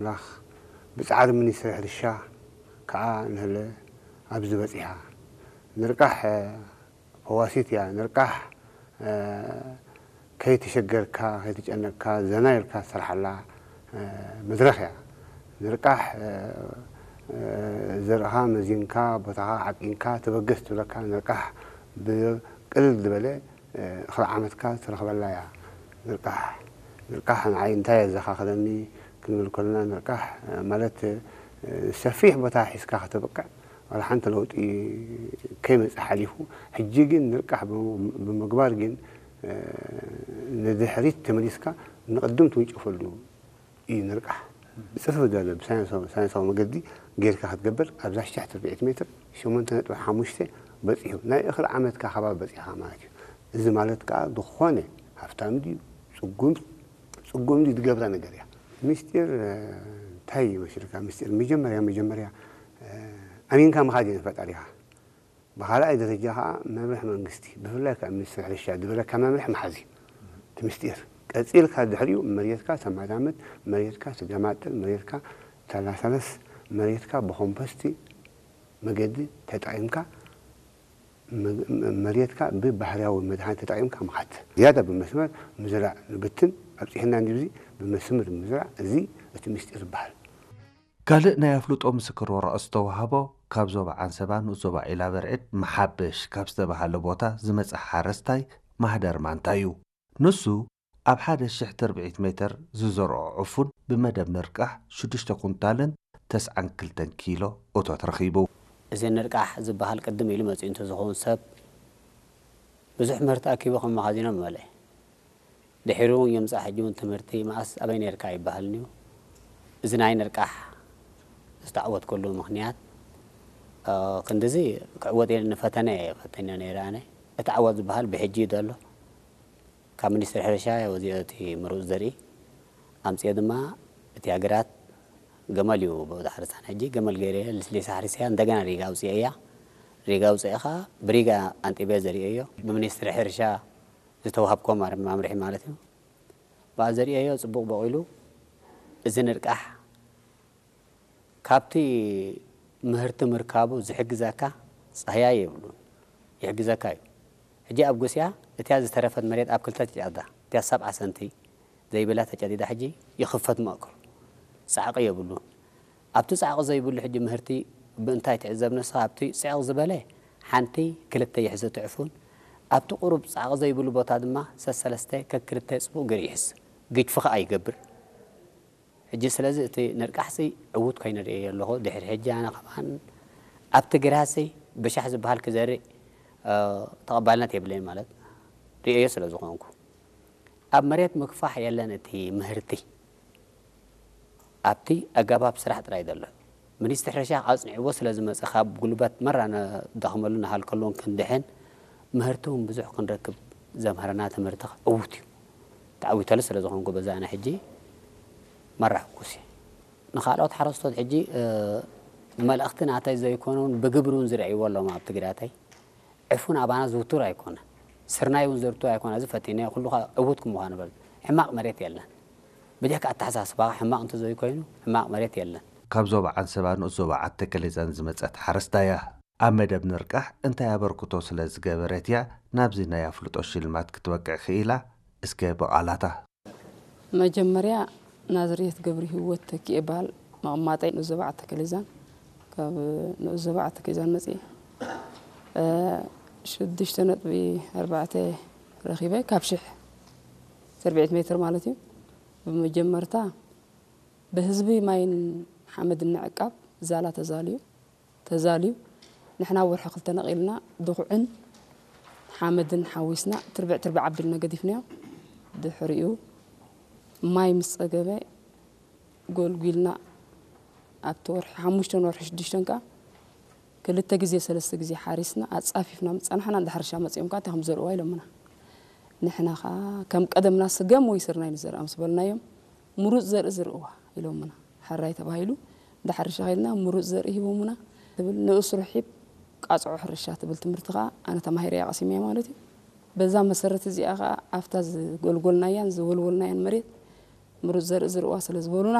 ኣምላኽ ብጻዕሪ ሚኒስትሪ ሕርሻ ከዓ ንህለ ኣብዚ በጺሓ። ንርቃሕ፣ እ፣ ፈዋሲት እያ። ንርቃሕ፣ እ፣ ከይተሸገርካ፣ ከይተጨነቅካ፣ ዘና ኢልካ ትሰርሓላ፣ እ፣ መድረኽ እያ። ንርቃሕ፣ እ፣ እ፣ ዘርእኻ መዚንካ፣ ቦታኻ ዓቂንካ፣ ተበገስ ትብለካ። ንርቃሕ ብቅልል ዝበለ፣ እ፣ እኽሊ ዓመትካ ትረኽበላ እያ። ንርቃሕ፣ ንርቃሕ ንዓይ እንታይ የዘኻኽረኒ ክንብል ከለና፣ ንርቃሕ፣ እ፣ ማለት፣ እ፣ ሰፊሕ ቦታ ሒዝካ ከተብቅዕ ዋላ ሓንቲ ለውጢ ከይመጽእ ሓሊፉ፣ ሕጂ ግን ንርቃሕ ብም-፣ ብምግባር ግን፣ እ፣ ንድሕሪት ተመሊስካ ንቕድም ትውንጨፈሉ እዩ ንርቃሕ። ብጽፉፍ ዝበለ ብሳይንሳዊ፣ ሳይንሳዊ መገዲ ጌርካ ክትገብር ኣብዛ ሽሕ ትርብዒት ሜትር ሸሞንተ ነጥቢ ሓሙሽተ በጺሑ። ናይ እኽሊ ዓመትካ ከባቢ በጺሕካ ማለት እዩ። እዚ ማለት ከኣ ዝኾነ ሃብታም ድዩ፣ ጽጉም፣ ጽጉም ድዩ ዝገብራ ነገር እያ። ምስጢር፣ እ፣ እንታይ ይመስልካ? ምስጢር መጀመርያ፣ መጀመርያ፣ እ፣ ኣሚንካ ምኻድ እዩ ንፈጣሪኻ። ብኻልኣይ ደረጃ ኸዓ መምርሒ መንግስቲ፣ ብፍላይ ከዓ ሚኒስትሪ ሕርሻ ዝበለካ መምርሒ ምሓዝ እዩ እቲ ምስጢር። ቀጺልካ ድሕሪኡ መሬትካ ተማዳምድ፣ መሬትካ ትገማጥል፣ መሬትካ ተላሳለስ፣ መሬትካ ብኮምፖስቲ መገዲ ተጠቒምካ፣ መ-፣ መሬትካ ብባህርያዊ መድሃኒት ተጠቒምካ ምኻድ። ዝያዳ ብመስመር ምዝራእ ንብትን ኣብጺሕና እንዲብዚ ብመስመር ምዝራእ፣ እዚ እቲ ምስጢር ዝበሃል። ካልእ ናይ ኣፍልጦ ምስክር ወረቐት ዝተዋህቦ ካብ ዞባ ዓንሰባ ንኡስ ዞባ ዒላበርዕድ መሓበሽ ካብ ዝተባሃለ ቦታ ዝመጸ ሓረስታይ ማህደር ማንታ እዩ። ንሱ ኣብ ሓደ ሽሕ ትርብዒት ሜትር ዝዘርኦ ዕፉን ብመደብ ንርቃሕ ሽዱሽተ ኩንታልን ተስዓን ክልተን ኪሎ እቶት ረኺቡ። እዚ ንርቃሕ ዝበሃል ቅድም ኢሉ መጺኡ እንተዝኸውን ሰብ ብዙሕ ምህርቲ ኣኪቡ ከም መኻዚኖ ምመልአ። ድሒሩ እውን የምጽእ፣ ሕጂ እውን ትምህርቲ መኣስ ኣበይ ነርካ ኣይበሃልን እዩ። እዚ ናይ ንርቃሕ ዝተዓወትከሉ ምኽንያት፣ እ፣ ክንድዚ ክዕወት ኢለ ንፈተነ እየ ፈተነ ነይረ ኣነ። እቲ ዓወት ዝበሃል ብሕጂ እዩ ዘሎ። ካብ ሚኒስትሪ ሕርሻ እየ ወዚኦ እቲ ምሩፅ ዘርኢ ኣምፅኦ ድማ እቲ ሃገራት ገመል እዩ ብኡ ዝሓርሳን። ሕጂ ገመል ገይረ ልስሊሳ ሓሪሰያ እንደገና ሪጋ ኣውፅኤያ። ሪጋ ኣውፅኤ ከዓ ብሪጋ ኣንጢበ ዘርእዮ ብሚኒስትሪ ሕርሻ ዝተዋሃብኮ ማር-፣ ማምርሒ ማለት እዩ። ብኣ ዘርእዮ ፅቡቕ በቂሉ እዚ ንርቃሕ ካብቲ ምህርቲ ምርካቡ ዝሕግዘካ ፃህያይ የብሉን፣ ይሕግዘካ እዩ። ሕጂ ኣብ ጉስያ እቲያ ዝተረፈት መሬት ኣብ ክልተ ትጨዳ፣ እቲያ ሰብዓ ሰንቲ ዘይብላ ተጨዲዳ ሕጂ ይኽፈት መእክሉ ፃዕቂ የብሉን። ኣብቲ ፃዕቂ ዘይብሉ ሕጂ ምህርቲ ብእንታይ ትዕዘብ ንስኻ? ኣብቲ ፅዕቕ ዝበለ ሓንቲ ክልተ ይሕዝ እቲ ዕፉን፣ ኣብቲ ቁሩብ ፃዕቂ ዘይብሉ ቦታ ድማ ሰሰለስተ ከክልተ ፅቡቕ ገይሩ ይሕዝ፣ ግጅፊ ኸዓ ይገብር። ሕጂ ስለዚ እቲ ንርቃሕሲ ዕዉት ኮይኑ ርእየ ኣለኹ። ድሕሪ ሕጂ ኣነ ከማን ኣብቲ ግራሲ ብሻሕ ዝበሃል ክዘርእ፣ እ፣ ተቐባልነት የብለይን ማለት ርእየዮ ስለ ዝኾንኩ። ኣብ መሬት ምክፋሕ የለን እቲ ምህርቲ። ኣብቲ ኣገባብ ስራሕ ጥራይ ዘሎ። ሚኒስትሪ ሕርሻ ኣጽኒዕዎ ስለ ዝመጸ ካብ ጉልበት መራ ንደኽመሉ ንሃልከሉን ክንድሕን ምህርቲ እውን ብዙሕ ክንረክብ ዘምሃረና ትምህርቲ ዕዉት እዩ። ተዓዊተሉ ስለ ዝኾንኩ በዛ ኣነ ሕጂ መራ ሕጉስ እየ። ንኻልኦት ሓረስቶት ሕጂ፣ እ፣ መልእኽቲ ናተይ ዘይኮነ እውን ብግብሪ እውን ዝረእይዎ ኣለዎም ኣብ ትግራተይ። ዕፉን ኣባና ዝውቱር ኣይኮነ። ስርናይ እውን ዘርቱ ኣይኮነ። እዚ ፈቲነ ኩሉ ዕዉት ክምዃኑ በል። ሕማቕ መሬት የለን። ብጀካ ኣተሓሳስባኻ ሕማቕ እንተዘይኮይኑ ሕማቕ መሬት የለን። ካብ ዞባ ዓንሰባ ንኡስ ዞባ ዓዲ ተከሌዛን ዝመጸት ሓረስታይ እያ። ኣብ መደብ ንርቃሕ እንታይ ኣበርክቶ ስለ ዝገበረት እያ ናብዚ ናይ ኣፍልጦ ሽልማት ክትበቅዕ ክኢላ? እስከ ብቓላታ። መጀመርያ ናዝሬት ገብረ ህይወት ተኪኤ እበሃል። መቐማጠይ ንኡስ ዞባ ዓዲ ተከሌዛን። ካብ ንኡስ ዞባ ዓዲ ተከሌዛን መፅየ። እ፣ ሽዱሽተ ነጥቢ ኣርባዕተ ረኺበ ካብ ሽሕ ትርብዒት ሜትር ማለት እዩ። ብመጀመርታ ብህዝቢ ማይን ሓመድን ንዕቃብ ዛላ ተዛልዩ። ተዛልዩ፣ ንሕና ወርሒ ክልተ ነቒልና ድኹዕን ሓመድን ሓዊስና ትርብዕ ትርብዕ ኣቢልና ገዲፍናዮ። ድሕሪኡ ማይ ምስ ጸገበ ጎልጒልና ኣብቲ ወርሒ ሓሙሽተን ወርሒ ሽዱሽተን ከኣ ክልተ ግዜ ሰለስተ ግዜ ሓሪስና ኣጻፊፍና ምስ ጸናሕና፣ እንዳ ሕርሻ መጺኦም ከኣ እንታይ ከም ዘርእዋ ኢሎምና። ንሕና ከኣ ከም ቀደምና ስገም ወይ ስርናይ ንዘርኣ ምስ በልናዮም፣ ምሩጽ ዘርኢ ዝርእዋ ኢሎምና። ሕራይ ተባሂሉ እንዳ ሕርሻ ኸይድና ምሩጽ ዘርኢ ሂቦምና። ትብል ንኡስ ርሒብ ቃጽዖ ሕርሻ ትብል ትምህርቲ ኸኣ ኣነ ተማሂረያ ቀሲመያ ማለት እዩ። በዛ መሰረት እዚኣ ኸኣ ኣብታ ዝጎልጎልናያን ዝወልወልናያን መሬት ምሩጽ ዘርኢ ዝርእዋ ስለ ዝበሉና፣